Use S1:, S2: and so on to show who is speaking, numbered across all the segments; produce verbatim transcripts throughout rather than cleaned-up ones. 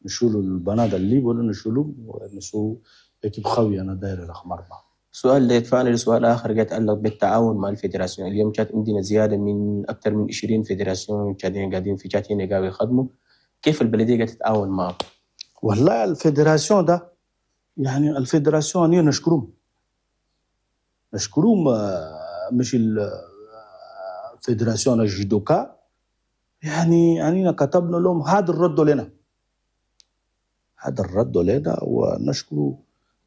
S1: نشولوا البنات اللي ولا نشولوا ونسو équipe قوي هنا دايرة رقم أربعة.
S2: سؤال ده يدفعنا لسؤال آخر يتعلق بالتعاون مع ال fédération. اليوم كانت عندنا زيادة من أكثر من عشرين fédération تشادين قاعدين في تشاد هنا قاعدين يخدموا، كيف البلدية قاعدة تتعاون معهم؟
S1: والله ال fédération ده يعني ال fédération أنا نشكرهم نشكرهم مش ال fédération الجودوكا، يعني يعني كتبنا لهم هذا الرد لنا هذا الرد لنا، ونشكر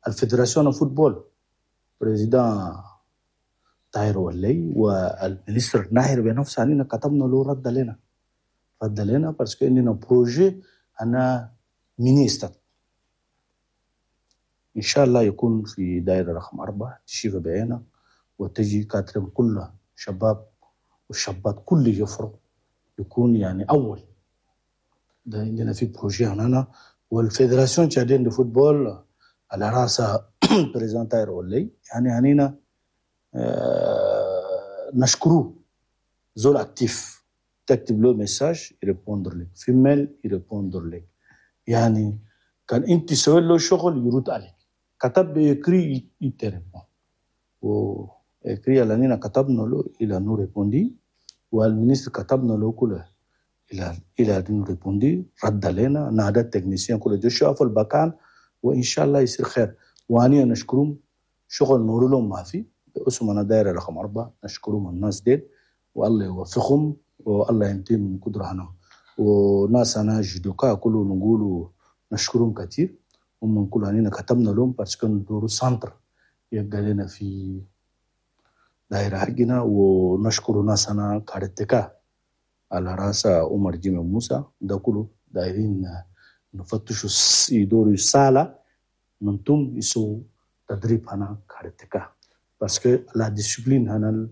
S1: ال fédération football président طاهر ولي وال ministre ناهر بنفسه، أننا كتبنا له رد لنا رد لنا parce que عندنا projet هنا mini stade إن شاء الله يكون في دائرة رقم أربعة تشوف بعينك وتجي quatrième كلها شباب والشابات كل يفرق يكون يعني أول ده عندنا في projet هنا. وال fédération tchadienne de football على راسها président طاهر ولي، يعني هنينا آه نشكروه زول actif، تكتب له message ي répondre لك، في mail ي répondre لك، يعني كان انت سوي له شغل يرد عليك، كتب écrit il te répond و écrit لاننا كتبنا له il a nous répondu، وال ministre كتبنا له كله il a il a nous répondu، رد علينا نادى ال technicien كله جو شافوا المكان وان شاء الله يصير خير. واني نشكرهم شغل نور لهم ما في باسم هنا دايرة رقم أربعة، نشكرهم الناس ديل والله يوفقهم والله ينتهي من قدرة هنا. وناس هنا جودوكا كله نقولوا نشكرهم كثير، هم كل هنينا كتبنا لهم parce que ندورو centre يبقى لنا في دايرة حقنا. ونشكر ناس هنا كاراتيكا على راس عمر جيمي موسى، ده كله دايرين نفتشوا يدوروا الصالة ننتم يسو تدريب هنا كاراتيكا parce que la discipline هنا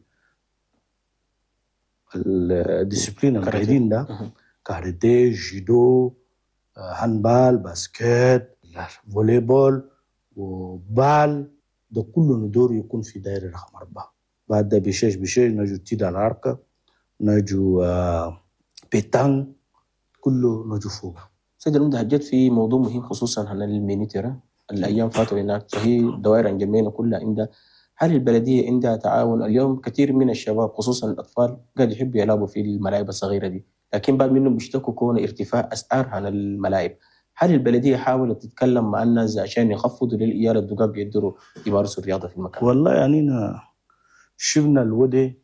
S1: ال discipline القاعدين ده كاراتيه جودو handball basket volley-ball و balle ده كله ندور يكون في دائرة رقم أربعة. بعد ده بشيش بشيش نجو tir à l'arc نجو pétanque كله نجو فوق.
S2: سيد العمدة حجيت في موضوع مهم خصوصا عن ال mini terrain الأيام فاتوا هناك، فهي دوائر انجمينا كلها عندها، هل البلدية عندها تعاون؟ اليوم كثير من الشباب خصوصا الأطفال قاعد يحبوا يلعبوا في الملاعب الصغيرة دي، لكن بعض منهم بيشتكوا كون ارتفاع أسعار عن الملاعب. هل البلدية حاولت تتكلم مع الناس عشان يخفضوا للعيال الدقاق بيقدروا يمارسوا الرياضة في المكان؟
S1: والله يعني شفنا الودي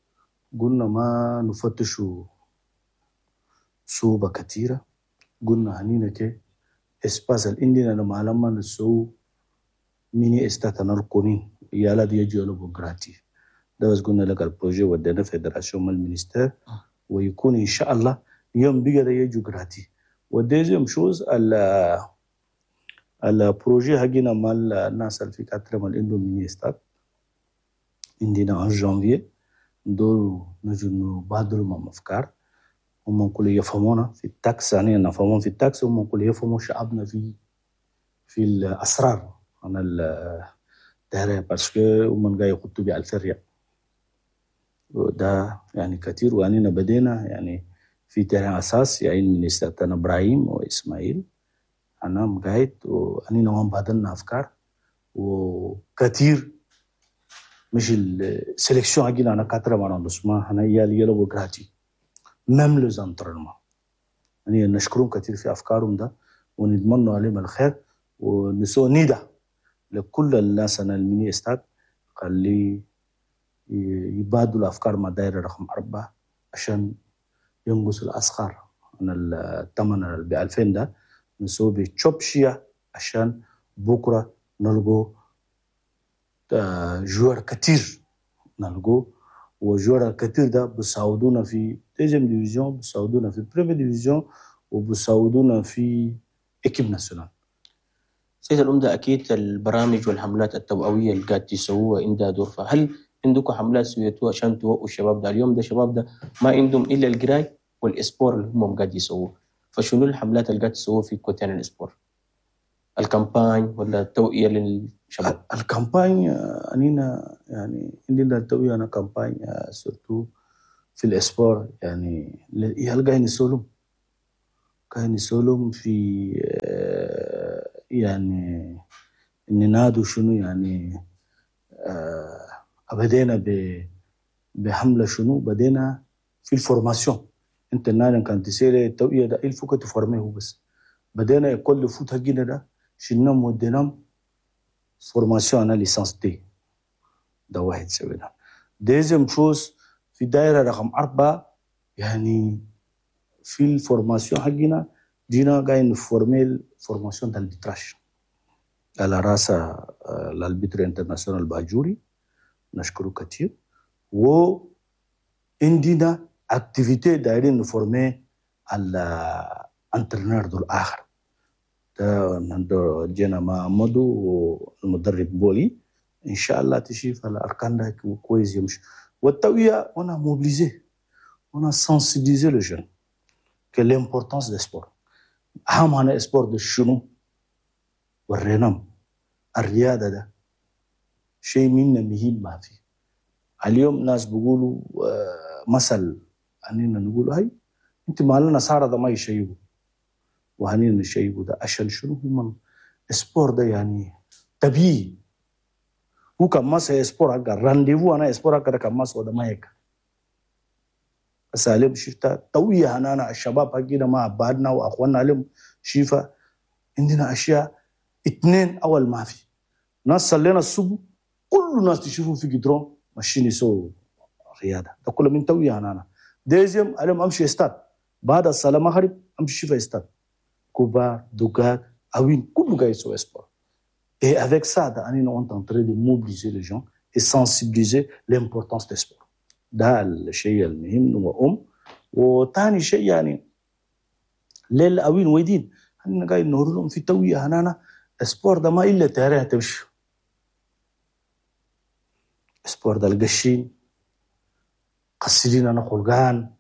S1: قلنا ما نفتشوا صعوبة كثيرة، قلنا هنينا كي espace اللي عندنا لما لما نسو mini stade القونين يالا دي يجوا يلعبوا gratuit ده بس. قلنا لك ال projet ودينا fédération من ال ministère ويكون ان شاء الله يوم بيقدر يجوا gratuit. و deuxième chose ال projet حقنا مع الناس اللي في quatrième اللي عندهم mini stade عندنا en janvier ندور نجو نبادلوا مع افكار، هم كل يفهمونا في ال taxe، يعني نفهمون في ال taxe، هم كل يفهموا شعبنا في في الاسرار عن الدائرة parce que هم قاعد يخطوا بألف ريال ده يعني كثير. وأننا بدينا يعني في terrain اساس يعني ministère ابراهيم واسماعيل انا مقاعد واننا وان بادلنا افكار وكثير مش ال sélection حقنا هنا quatrième arrondissement هنا يالي يلعبوا gratuit même les entraînements. يعني نشكرهم كثير في افكارهم ده ونتمنى عليهم الخير ونسو نداء لكل الناس هنا ال mini stade خلي يبادلوا الافكار مع دائرة رقم اربعة عشان ينقص الاسعار عن الثمن ب ألفين ده نسوي بتشوبشيا عشان بكره نلقوا joueurs كتير نلقوا و joueurs الكثير ده بيساعدونا في deuxième division بيساعدونا في première division وبيساعدونا في équipe nationale.
S2: سيد العمدة أكيد البرامج والحملات التوعوية اللي قاعد تسووها عندها دور، فهل عندكم حملات سويتوها عشان توعوا الشباب ده؟ اليوم ده الشباب ده ما عندهم إلا القراي وال sport اللي هم قاعد يسووه، فشنو الحملات اللي قاعد تسووها في côté ال sport؟ ال campagne ولا التوعية للشباب؟
S1: ال campagne أنينا يعني عندنا التوعية أنا campagne surtout في ال sport يعني يلقى يسولهم كان يسولهم في آه، يعني ننادوا شنو يعني آه، بدينا ب- بحملة شنو، بدينا في ال formation. انت النادي كان تسيري التوعية ده il faut que تفورميه بس. بدينا كل foot حقنا ده شلناهم وديناهم formation انا licence D ده واحد سوينا. deuxième chose في دائرة رقم أربعة يعني في ال formation حقنا جينا قاعدين نفورمي formation d'arbitrage على راس l'arbitre international باجوري نشكره كثير. و عندنا activité دايرين نفورمي ال entraîneur دول اخر ده عنده جينا مع مدو والمدرب بولي ان شاء الله تشوف الاركان ده كويس يمشي. والتوعية on a mobilisé on a sensibilisé les jeunes que l'importance des sports. اهم هنا sport ده شنو ورينام الرياضة ده شيء منا مهم ما فيه. اليوم ناس بيقولوا آه، مثل اننا نقول هاي انت مالنا صار ده ما يشيبوا وهنينا نشيبوا ده عشان شنو هم sport ده يعني طبيعي. هو كان ما sport حق rendez-vous انا sport حق كان ما ده ما هيك. بس عليهم شفتا توية هنانا الشباب حقنا مع بعضنا واخواننا عليهم شيفا عندنا اشياء اثنين اول ما في ناس صلينا الصبح كل الناس تشوفوا في جدرون ماشيين يسووا رياضة ده كله من توية هنانا. deuxième عليهم امشي استاد بعد الصلاة المغرب امشي شوف استاد كبار دقاق اوين كله قاعد يسوي sport. Et avec ça, on est en train de mobiliser les gens et sensibiliser l'importance des sports. ده الشيء المهم وأم. وثاني شيء يعني للأوين ويدين احنا قاعد نقول لهم في توية هنانا sport ده ما إلا terrain تمشي sport ده القشين قصرين أنا خلقان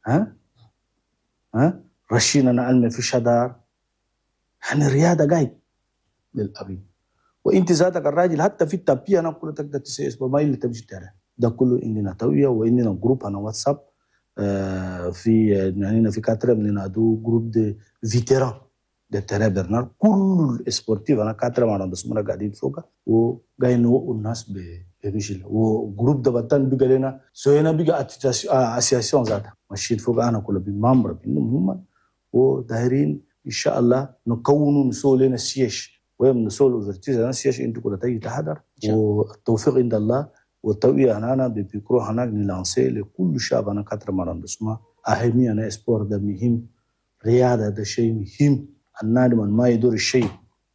S1: ها ها رشين أنا علمي في شدار يعني الرياضة قاعد للأبين. وانت ذاتك الراجل حتى في ال tapis انا كله تقدر تسوي sport ما الا تمشي terrain ده كله عندنا توعية وعندنا groupe انا واتساب آه في يعني في quatrième نادو groupe de vétérans de terrain برنار كل sportifs انا quatrième arrondissement قاعدين فوق وقاعدين نوعوا الناس بمشي و groupe ده بطن بقى لنا سوينا بقى association ذاتها ماشيين فوق انا كله ب membre منهم هم ودايرين ان شاء الله نكونوا نسوي لنا siège ويوم نسوي l'ouverture انا siège انتوا كلها تيجي تحضر والتوفيق عند الله. والتوعية هنا بيكرو هناك نلانسي لكل شعب انا quatrième arrondissement أهمية أنا sport ده مهم رياضة ده شيء مهم. النادم ما يدور الشيء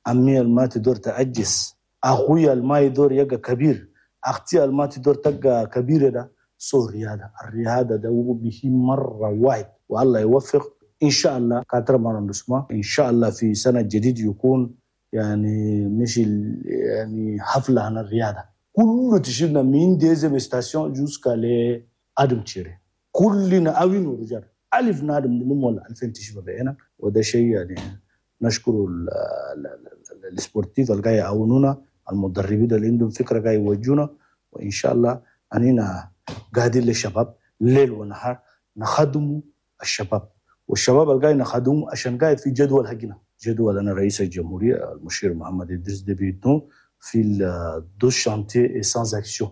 S1: أمي ما تدور تعجز أخويا ما يدور يبقى كبير أختي ما تدور تبقى كبيرة ده سو رياضة الرياضة ده هو مهم مرة واحد. والله يوفق إن شاء الله quatrième arrondissement إن شاء الله في سنة جديد يكون يعني مش يعني حفلة عن الرياضة كله تشيلنا من deuxième station jusqu'à les ادم تشيري كلنا اوين ورجال الف نادم نلم ولا ألفين تشوف بعينك. وده شيء يعني نشكر ال sportifs اللي قاعد يعاونونا المدربين اللي عندهم فكرة قاعد يوجهونا. وان شاء الله اننا قاعدين للشباب ليل ونهار نخدموا الشباب والشباب اللي قاعد نخدمه عشان قاعد في جدول حقنا جدول انا رئيس الجمهورية المشير محمد ادريس ديبي إتنو في douze chantiers et cent actions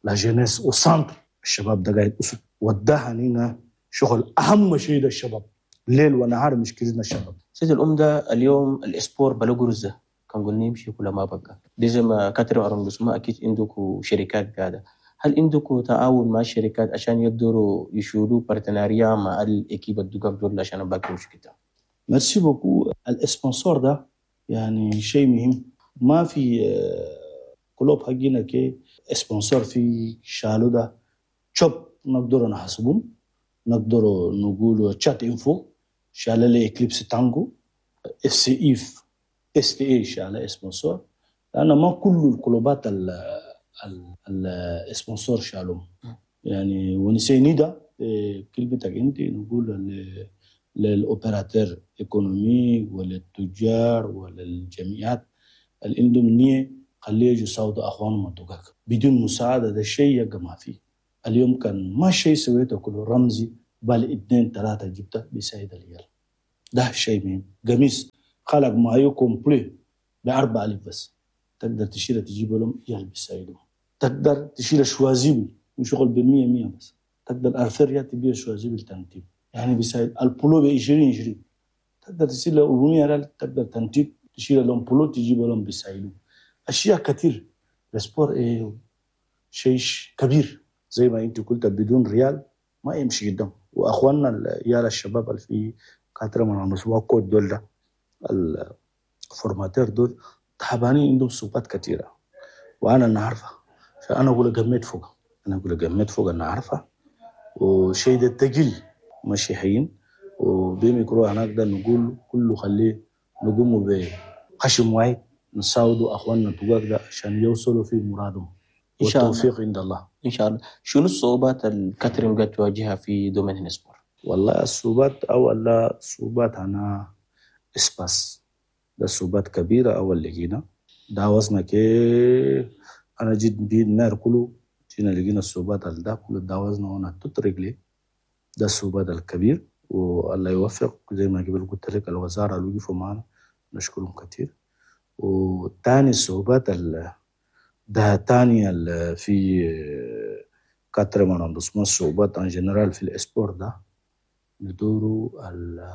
S1: la jeunesse au centre الشباب ده قاعد اسد وده هنينا شغل اهم شيء ده الشباب ليل ونهار مشكلتنا الشباب.
S2: سيد الأمدة اليوم ال sport بلا قرزة كان قلنا يمشي كل ما بقى دي زي ما quatrième arrondissement أكيد عندكم شركات قاعدة. هل عندكم تعاون مع الشركات عشان يقدروا يشيلوا partenariat مع ال équipe الدقاق دول عشان باقي مش كده؟
S1: merci beaucoup. ال sponsor ده يعني شيء مهم. ما في club حقنا كي sponsor في شالو ده شوب نقدر نحسبهم نقدر نقول تشات انفو شال لي اكليبس تانجو اف سي اف اس تي اي شال sponsor لان ما كل الكلوبات ال sponsor شالهم يعني ونسيني ده كلمتك انت نقول لل opérateurs économiques وللتجار وللجمعيات اللي عندهم نية خليه يجوا يساعدوا اخوانهم الدقاق بدون مساعدة ده شيء يبقى ما فيه. اليوم كان ما شيء سويته كله رمزي بل اثنين ثلاثة جبته بيساعد العيال. ده شيء مهم. قميص خلق maillot complet ب أربعة آلاف بس، تقدر تشيله تجيبه لهم يلبس. تقدر تشيل chasuble وشغل ب مية مية بس، تقدر ألفين ريال تبيع chasuble تنتيب، يعني بيساعد البولو ب عشرين عشرين، تقدر تشيل أربعمية ريال تقدر تنتيب تشيل لهم بولو تجيب لهم بيساعدوا. اشياء كثير. ال sport إيه شيء كبير، زي ما انت قلت بدون ريال ما يمشي قدام. واخواننا العيال الشباب اللي في quatrième arrondissement coach دول ده ال formateurs دول تعبانين، عندهم صعوبات كثيرة وانا نعرفها، فانا اقول قميت فوق، انا اقول قميت فوق، انا عارفه وشيء ده تقيل ماشي حين. وبميكرو هناك ده نقول كله خليه نقوم بخشم واحد نساعدوا اخواننا الدقاق ده عشان يوصلوا في مرادهم.
S2: إن شاء الله.
S1: والتوفيق عند الله.
S2: ان شاء الله. شنو الصعوبات ال quatrième قاعد تواجهها في domaine sport؟
S1: والله الصعوبات، اول لا صعوبات انا espace ده صعوبات كبيرة. اول لقينا داوزنا كيف، انا جيت بيد maire كله جينا لقينا الصعوبات ده كله داوزنا وانا tout réglé. ده الصعوبات الكبير، والله يوفق. زي ما قبل قلت لك الوزارة اللي وقفوا معنا نشكرهم كثير. وتاني الصعوبات ال- ده تاني ال- في quatrième arrondissement، الصعوبات en général في ال sport ده ندوروا ال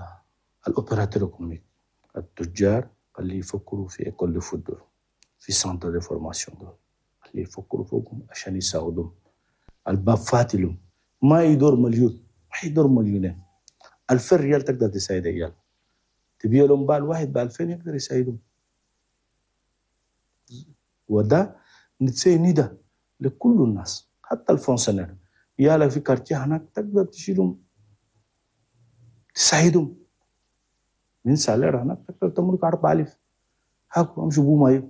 S1: opérateurs économiques، التجار اللي يفكروا في école de football، في centre de formation دول، اللي يفكروا فوقهم عشان يساعدوهم. الباب فاتلهم، ما يدور مليون، ما يدور مليونين، ألفين ريال تقدر تساعد عيال، تبيع لهم بال واحد ب ألفين يقدر يساعدهم. وده نتسي ندى لكل الناس، حتى ال fonctionnaires يالا في quartier هناك تقدر تشيلهم تساعدهم من salaire هناك، تقدر تملك أربعة آلاف هاكو امشوا بو maillot،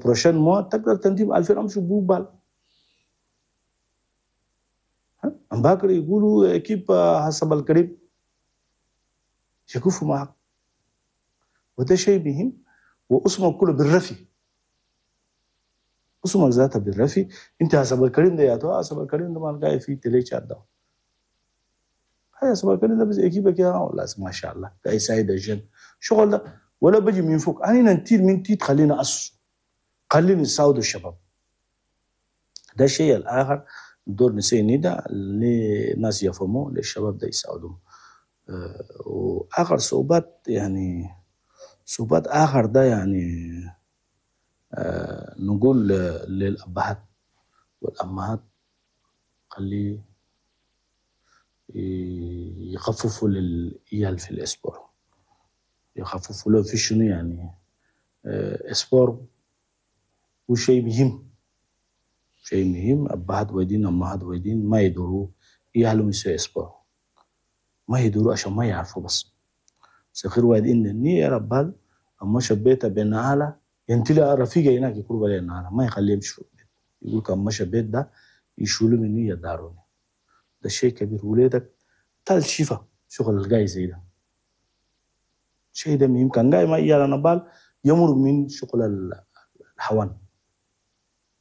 S1: prochain mois تقدر تنديم ألفين امشوا بو balle. ام باكر يقولوا équipe حسب الكريم يقفوا معك، وده شيء مهم. واسمك كله بالرفي، اسمك ذاتها بالرفي. انت حسب الكريم ده يا تو حسب الكريم ده ما قاعد في télé Tchad ده، هاي حسب الكريم ده بس équipe ك يا والله ما شاء الله قاعد يساعد ال jeunes. شغل ده ولا بجي من فوق، انا ننتيل من تيت، خلينا أس خلينا نساعد الشباب. ده الشيء الاخر دور نسي ندى للناس يفهموا للشباب ده يساعدهم. أه واخر صعوبات، يعني صعوبات اخر ده يعني أه نقول للابهات والامهات خلي يخففوا للعيال في ال sport، يخففوا له في شنو يعني أه sport هو شيء مهم، شيء مهم. أبهات ويدين أمهات ويدين ما يدوروا عيالهم يسوي sport، ما يدوروا عشان ما يعرفوا بس صغير واحد إن النية ربال أما شبيته بنعالة ينتلي رفيقه هناك يقول بلي نعالة ما يخليه يمشي في البيت، يقول كم مشى بيت ده يشولوا مني يداروني. ده شيء كبير. ولادك تال شفا شغل الجاي زي ده شيء ده مهم. كان جاي ما يالا نبال يمر من شغل الحوان،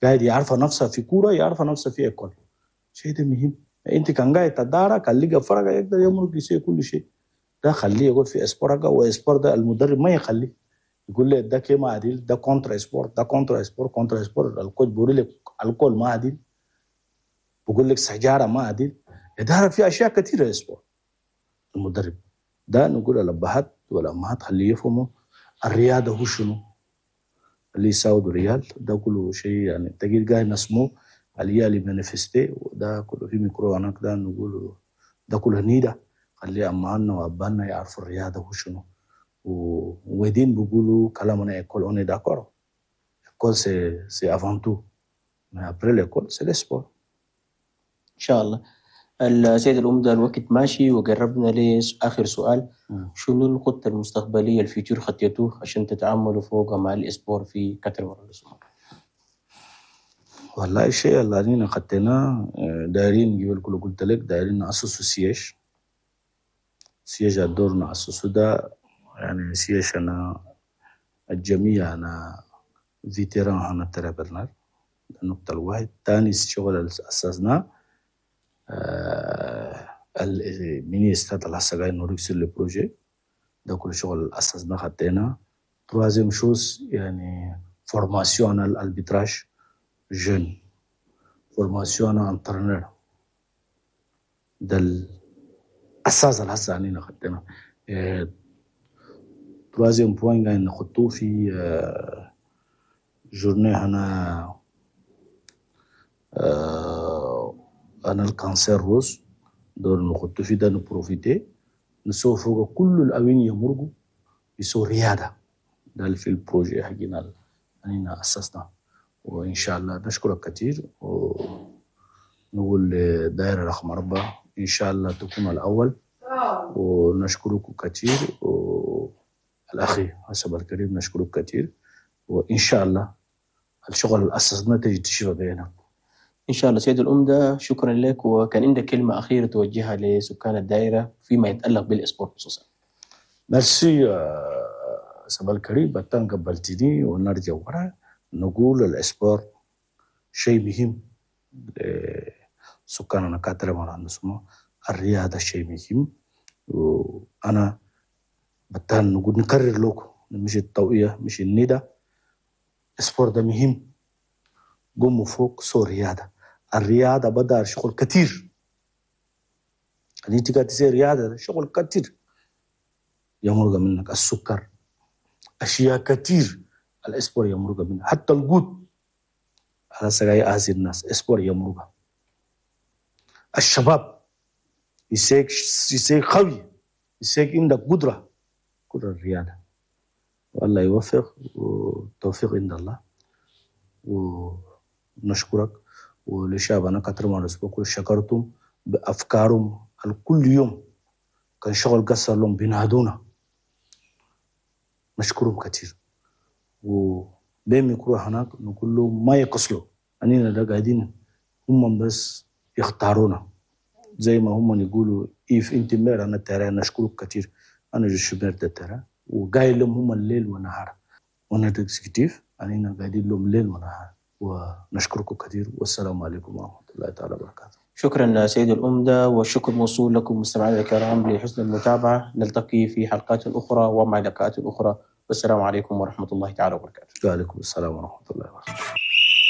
S1: قاعد يعرف نفسه في كورة، يعرف نفسه في école. شيء ده مهم. انت كان قاعد تدارا كان لقى فرقه يقدر يمرق يسوي كل شيء ده، خليه يقول في sport، و sport ده المدرب ما يخليه يقول لي ده كي ما عديل، ده contre sport، ده contre sport، contre sport. ال coach بيقول لك alcool ما عديل، بقول لك سجاره ما عديل، ده في اشياء كثيرة sport. المدرب ده نقول الابهات والامهات خليه يفهموا الرياضة هو شنو اللي يساوي ريال. ده كله شيء يعني تجي قاعد نسمو اليالي manifester، وده كله في ميكرو هناك ده نقول ده كله نيدا خلي امهاتنا وابائنا يعرفوا الرياضة هو شنو. ودين بيقولوا كلامنا école، on est d'accord، école c'est c'est avant tout، mais après l'école c'est le sport.
S2: ان شاء الله. السيد العمدة، الوقت ماشي وقربنا لآخر سؤال. شنو الخطة المستقبلية ال futur خطيتوه عشان تتعاملوا فوق مع ال sport في quatrième arrondissement؟
S1: والله الشيء اللي علينا خطيناه دايرين قبل كله قلت لك دايرين نأسسوا siège، siège الدور نأسسه ده يعني siège أنا الجميع أنا vétérans أنا ترى برنار. النقطة الواحد. ثاني الشغل اللي أسسناه آه mini stade اللي هسه قاعد نوريك sur le projet. ده كل شغل أسسنا خدينا. troisième chose يعني formation ال arbitrage jeunes، formation entraîneur، ده الأساس اللي هسه علينا خدينا. troisième point قاعدين نخطوه في journée هنا أنا ال cancer rose دور نخطو في ده ن profiter نسوي فوق كل الأوين يمرقوا يسوي رياضة. ده في ال projet حقنا أننا أسسنا. وإن شاء الله نشكرك كثير ونقول دائرة رقم أربعة إن شاء الله تكون الأول، ونشكرك كثير والأخي حسب الكريم نشكرك كثير، وإن شاء الله الشغل اللي أسسنا تجي تشوفه بينك
S2: إن شاء الله. سيد الأمدة شكرا لك، وكان عندك كلمة أخيرة توجهها لسكان الدائرة فيما يتعلق بال sport خصوصا.
S1: ميرسي سبا الكريم بتان قبلتني، ونرجع ورا نقول ال sport شيء مهم سكاننا كاتر ما نسمع الرياضة شيء مهم. وأنا بتان نقول نكرر لكم مش التوعية مش الندى، sport ده مهم، قوموا فوق سو رياضة. الرياضة بدأ شغل كثير، اللي انت قاعد تسوي رياضة شغل كثير يمرق منك السكر، أشياء كثير ال sport يمرق منك، حتى القوت على سجاي أهزي الناس sport يمرق. الشباب يسيك يسيك قوي، يسيك عندك قدرة قدرة الرياضة. والله يوفق والتوفيق عند الله. ونشكرك ولشعبنا كتر ما نسبق شكرتم بأفكارهم الكل يوم كان شغل قصر لهم بينادونا، نشكرهم كثير. وبين ميكرو هناك نقول لهم ما يقصلوا أننا ده قاعدين هم بس يختارونا زي ما هم يقولوا إيف أنت maire أنا ترى نشكرك كثير، أنا je suis maire ترى وقايل لهم هم الليل ونهار، وانا exécutif أننا قاعدين لهم ليل ونهار. ونشكركم كثير والسلام عليكم ورحمة الله تعالى وبركاته.
S2: شكرا سيد الأمدة، والشكر موصول لكم مستمعينا الكرام لحسن المتابعة. نلتقي في حلقات أخرى ومع لقاءات أخرى، والسلام عليكم ورحمة الله تعالى وبركاته.
S1: وعليكم السلام ورحمة الله وبركاته.